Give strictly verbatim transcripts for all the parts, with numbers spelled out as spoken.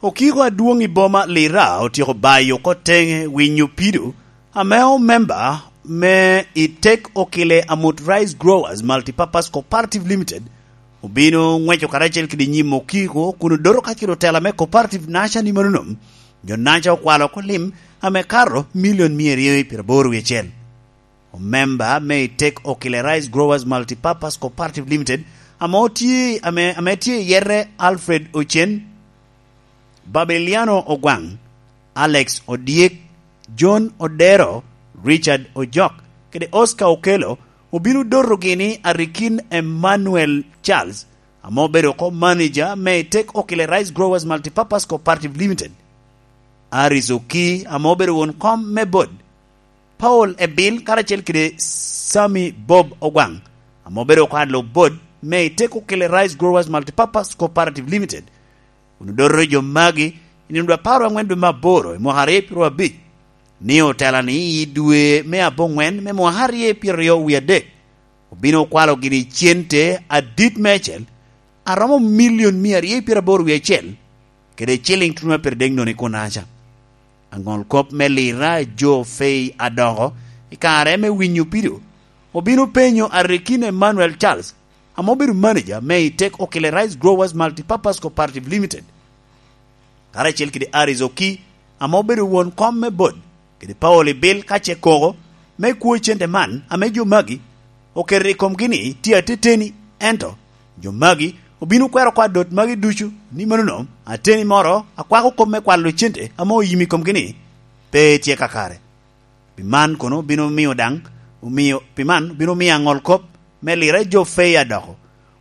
Okiko adwoŋ i boma Lira otyeko bayo oko teŋe winyo pido ame omemba me i Tek Okile Amut Rice Growers Multipurpose Cooperative Limited obino ŋweco karacel kede nyim Okiko kun odoto kacel otela me cooperative naca ni manonom. Jo naca okwalo oko lim ame kato milion mia aryo i pyeraboro wie acel. Omemba me i Tek Okile Rice Growers Multipurpose Cooperative Limited ame otye ame, ame tye i yete Alfred Ocen, Babeliano Ogwaŋ, Alex Odyek, John Odero, Richard Ojok kede Oscar Okello obino dotogi ni Arikin Emmanuel Charles ame obedo oko manager me i Tek Okile Rice Growers Multipurpose Cooperative Limited, Aris Oki ame obedo won kom me bot Paul Ebil karacel kede Sami Bob Ogwaŋ ame obedo oko alub bot me i Tek Okile Rice Growers Multipurpose Cooperative Limited. Kun odoto jo magi i nino dwe apar aŋwen dwe me aboro i mwaka aryo pyeraryo abic, ni otela ni i dwe me aboŋwen me mwaka aryo pyeraryo wie adek obino okwalo gini cente adit meicel aromo milion mia aryo pyeraboro wie acel kede ciliŋ tuno a pire dek noni kunaca. Aŋol kop me Lira jo Fei Adoko i kare me winyo pido obino penyo Arikin Emmanuel Charles ame obedo manager me i Tek Okile Rice Growers Multipurpose Cooperative Limited, karacel kede Aris Oki ame obedo won kom me bot kede Paul Ibil ka ce koko me kwo cente man ame jo magi oketo i komgi ni tye ateteni, ento jo magi obino kwero oko adot magi ducu ni manono ateni moro akwako kop me kwalo cente ame oyim i komgi ni pe tye kakare. Pi man kono obino miyo daŋ omio pi man obino miyo aŋol kop me Lira jo Fei Adoko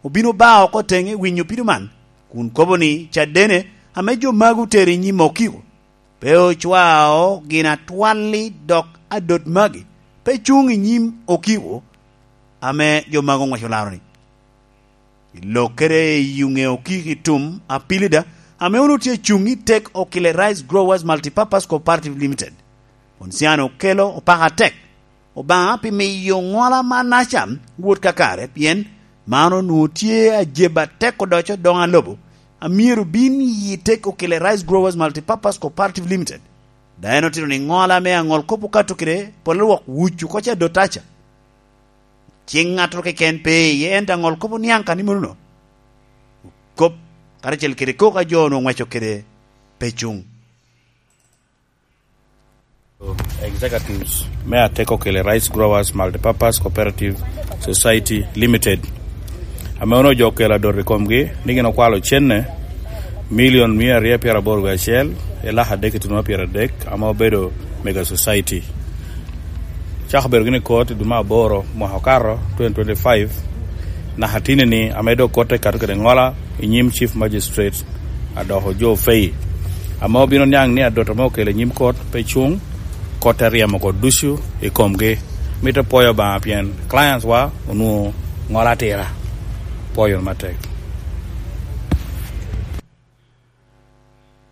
obino ba oko teŋe winyo pido man kun kobo ni cadene ame jo magi otero i nyim Okiko pe ocwao gin atwalli dok adot magi pe cuŋ i nyim Okiko ame jo magi oŋweco laro-ni. I lok kede i yuŋe Okiko i tum Apilida ame onwoŋo tye cuŋ i Tek Okile Rice Growers Multipurpose Cooperative Limited, Ponsiano Okelo opako atek Obaŋa pi miyo ŋola man aca wot kakare, pien man onwoŋo tye ajeb atek odoco doŋ alobo a myero bin i Tek Okile Rice Growers Multipurpose Cooperative Limited. Daŋ en otito ni ŋola me aŋol kop okato kede polo lwok wucu oko ca dot aca. Cing ŋattoro keken pe iye, ento aŋol kop oniaŋ ka ni monono. Kop karacel kede kok a jo onwoŋo ŋweco kede pe cuŋ. Executives me Ateko Kele Rice Growers Multipurpose Cooperative Society Limited, ame onwoŋo jo okelo adot i komgi ni gin okwalo cenne milion mia aryo pyeraboro wie acel i lak adek ituno pyeradek ame obedo Mega Society. Cako bedo gini kot i dwe me aboro mwaka okato twenty twenty-five, naka tini ni ame dok kotte kato kede ŋola i nyim Chief Magistrate Adoko Joe Fei, ame obino niaŋ ni adot ame okelo i nyim kot pe cuŋ, kot te ryemo oko ducu i komgi. Mito pwoyo Obaŋa pien clients wa onwoŋo ŋola atira. Pwoyo matek.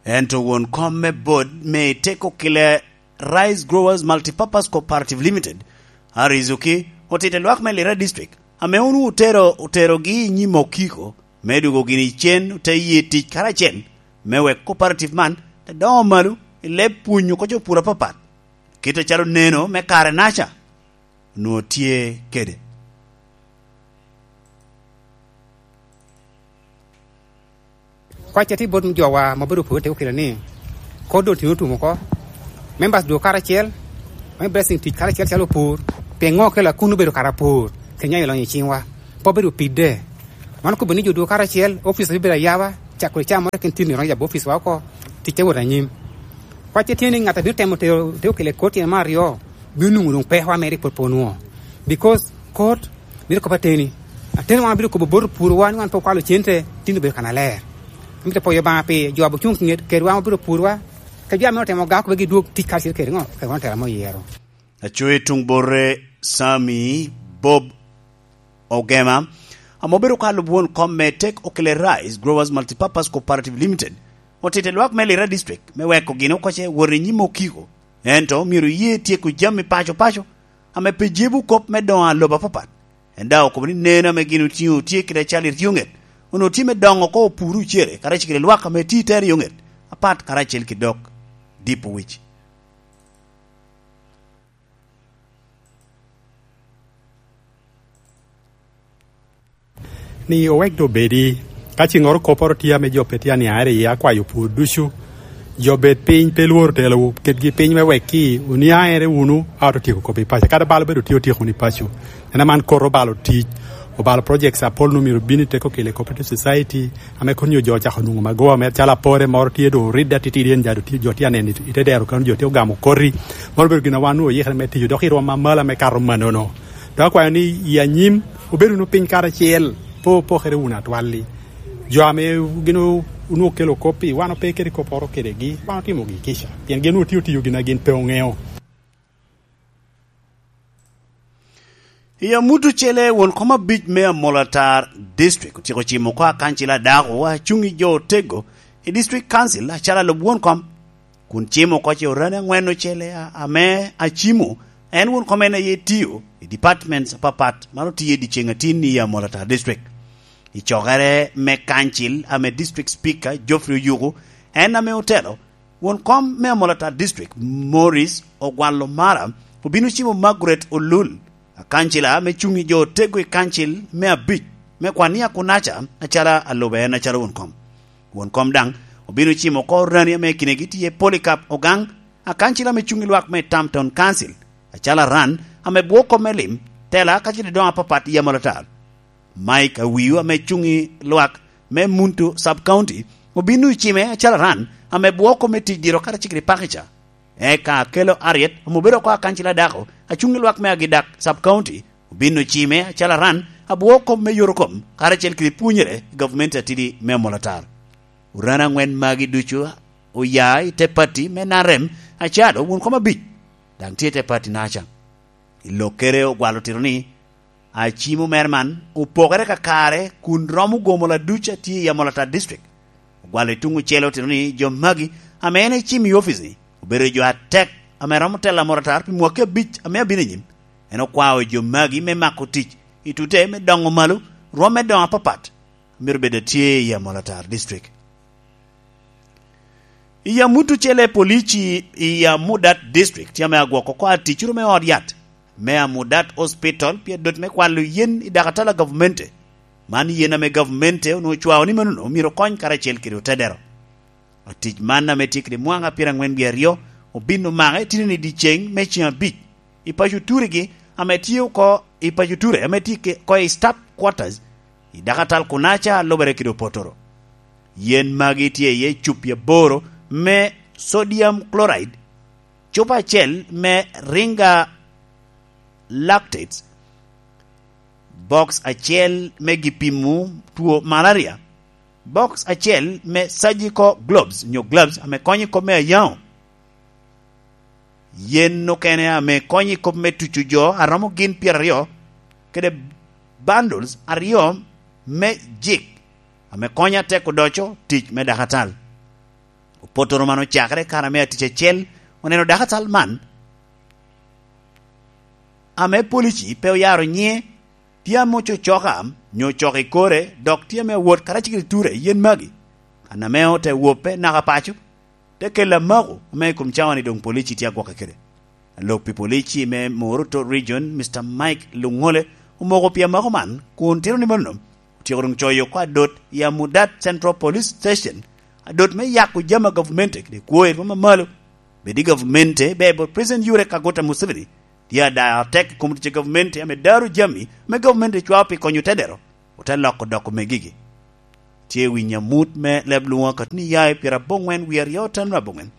Ento won kom me bot me Teko Kile Rice Growers Multipurpose Cooperative Limited, Arizuki, otito lwak me Lira District, ame onwoŋo otero, oterogi i nyim Okiko, me dwogo gini cen, ote ye tic karacel, me wek cooperative man te doŋo malo i leb pwonyo oko jo pur apapat, kit acalo neno me kare naca onwoŋo tye kede. Kwacca tye bot jowa ma obedo opur te okelo ni, kor doŋ tino otum oko. Members dwogo karacel, me blessing tic karacel calo opur. Piŋo okelo akun obedo kara apur? Kenya ilonyo i ciŋwa. Pe obedo pidde. Man okobo ni jo dwogo karacel, office obedo ayaba, cako i caa moro kin tino iroŋo yabo office wa oko, tic te wot anyim. Kwacce tye ni ŋat a bino temo tero te okelo i kor tyen me aryo, bino nwoŋo doŋ peko a mere i pwod pe onwoŋo. Because kor mito kop ateni. Ateni wan bino kobo bot opurwa ni wan pe okwalo cente, tin obedo kannaler. Amito pwoyo Obaŋa pi jo a ocuŋ kinget kedwa ma bino purwa, ka jo ame otemo ga kube gidwog tic karacel kede ŋo, kede wan otela me oyero. Aco i tuŋ bote Sami Bob Ogema, ame obedo ka lub won kom me Tek Okile Rice Growers Multipurpose Cooperative Limited, otito lwak me Lira District me weko gin okoce wot i nyim Okiko, ento myero ye tyeko jami paco paco ame pe jebo kop me doŋo alobo apapat. En daŋ okobo ni neno ame gin otiŋo tye kede acal i ryo ŋet, onwoŋo tye me doŋo oko opur ocere, karacel kede lwak ame tye i te ryo ŋet, apat karacel ki dok Dipowic. Ni owek doŋ obedi, ka ciŋŋoro kopporo tye ame jo pe tye aniaŋere iye, akwayo pwod ducu, jo bed piny, pe lworo telowu, ketgi piny me wek ki oniaŋere wunu, a oto tyeko kop i paco. Kadi bal obedo tye otyeko wunu i paco. En aman kot obalo tic, obalo projects apol nu myero bin i teko kele cooperative society, ame kun nyo jo ocako nwoŋo magowa mere, calo apore moro tye doŋ oridde atitidi, en jado tye, jo tye aneno i te dero kano jo tye ogamo koti. Moro obedo gin a wan nu oyikere me tiyo, dok i rwom amalo ame kato manono. Dok akwayo ni i anyim, obed wunu piny karacel, pe opokere wunu atwalli. Jo ame gin o-, onwoŋo kelo kop-pi, wan ope kede kopporo kedegi, wan otimogi kica, pien gin onwoŋo tye otiyo gin a gin pe oŋeo. I amut ocele, won kom abic me Amolatar District otyeko cimo oko akancil a dako a cuŋ i jo otego i District Council acalo alub won kom, kun cimo oko ce orani aŋwen ocele a-, ame acimo en won kom en aye tio i departments apapat, man otio i dyeceŋ atin i Amolatar District. I cokere me kancil ame District Speaker Geoffrey Oyuku en ame otelo, won kom me Amolatar District, Morris Ogwal Omara, obino cimo Margaret Olul, akancila ame cuŋ i jo otego i kancil me abic me kwan i Akunaca, acalo alube en acalo won kom. Won kom daŋ obino cimo oko orani ame kinegi tye Polycarp Ogang, akancila ame cuŋ i lwak me Tam Town Council, acalo aran ame bwoko me lim, tela kacel i doŋ apapat i Amolatar. Mike Awiu ame cuŋ i lwak me Muntu Sub County obino i cime acalo aran ame bwoko me tic diro karacel kede pakica. Eka Akelo Ariet ame obedo oko akancila dako a cuŋ i lwak me Agidak Sub County obino cime acalo aran abwoko me yorokom karacel kede pwonyere i gavumenti atidi me Amolatar. Orani aŋwen magi ducu oya i te pati me N R M, acalo won kom abic daŋ tye i te pati naca. I lokkere ogwalo tito ni, acimo mere man opokere kakare kun romo gomo laduc a tye i Amolatar District. Ogwalo i tuŋ ocele otito ni jo magi ame en ecimo i opic-ni obedo jo atek ame romo telo Amolatar pi mwaki abic ame abino anyim. En okwao jo magi me mako tic i tute me doŋo malo rwom me doŋo apapat a myero bed atye i Amolatar District. I amut ocele, polici i Amudat District tye ame agwoko oko aticuru me ot yat me Amudat Hospital pi adot me kwalo yen i dakatal a gavumenti. Man yen ame gavumenti onwoŋo ocwao ni manono myero okony karacel kede otedero. Atic man ame tye kede mwaŋa pyeraŋwen wie aryo obin omake tye ni dyeceŋ me ceŋ abic i paco Turigi ame tye oko i paco Ture ame tye ke-, oko i Staff Quarters i dakatal kunaca a lubere kede opotoro. Yen magi tye iye cupi aboro me sodium chloride, cupa acel me Ringa lactates, box acel me gipimo two malaria, box acel me surgical gloves nyo gloves ame konyo i kop me ayaŋo, yen okene ame konyo i kop me tuco jo a romo gin pyeraryo, kede bundles aryo me jik ame konyo atek odoco tic me dakatal. Opotoro man ocakere kare ame atic acel oneno dakatal man, ame polici pe oyaro nyiŋe, tye ame ococoka nyo ocoko i kore, dok tye ame awot karacel kede ture i yen magi. Kan ame ote wope naka paco, te kelo amako ame i kom cawa-ni doŋ polici tye agwokke kede. Alok pi polici me Moruto Region, Mister Mike Luŋole, omoko pi amako man, kun tito ni mano otyeko doŋ coyo oko adot i Amudat Central Police Station, adot me yako jami a gavumenti kede kwo i rwom amalo. Bed i gavumenti ber bot President Yoweri Kaguta Museveni, tye adayo atek i kom tic a gavumenti ame daro jami ame gavumenti cwao pi konyo tedero, ote loko doko megigi. Tye i winyo amut me leb lwoŋo akatni ya i pyera aboŋwen wie aryo otamra aboŋwen.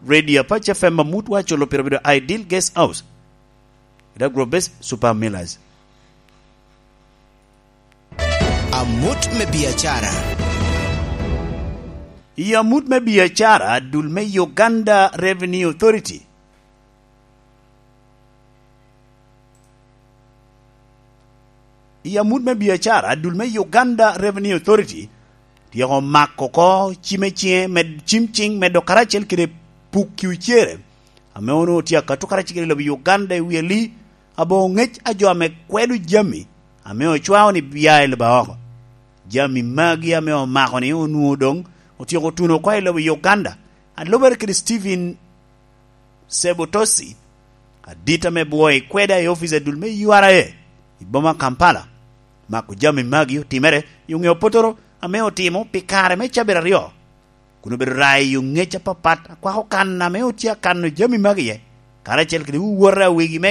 Radio Apac F M amut wa culo pire obedo Ideal Guest House, kede Agrobase Super Millers. Amut me biacara. I amut me biacara, dul me Uganda Revenue Authority. I amut me biacara, dul me Uganda Revenue Authority tyeko mako oko cime ciŋe med-, cim ciŋ medo karacel kede pukki ocere, ame onwoŋo tye akato karacel kede lobo Uganda i wi ali aboŋo ŋec a jo ame kwedo jami ame ocwao ni bia i lobo oko. Jami magi ame omako ni onwoŋo doŋ otyeko tuno oko i lobo Uganda, a lubere kede Stephen Sebotosi, adit ame bwoo i kweda i ofice adul me U R A i boma Kampala. Mako jami magi otimere i oŋeo potoro ame otimo pi kare me cabit aryo, kun obedo rayo i oŋec apapat akwako kan ame otye akano jami magi iye, karacel kede wowote a wegi mege.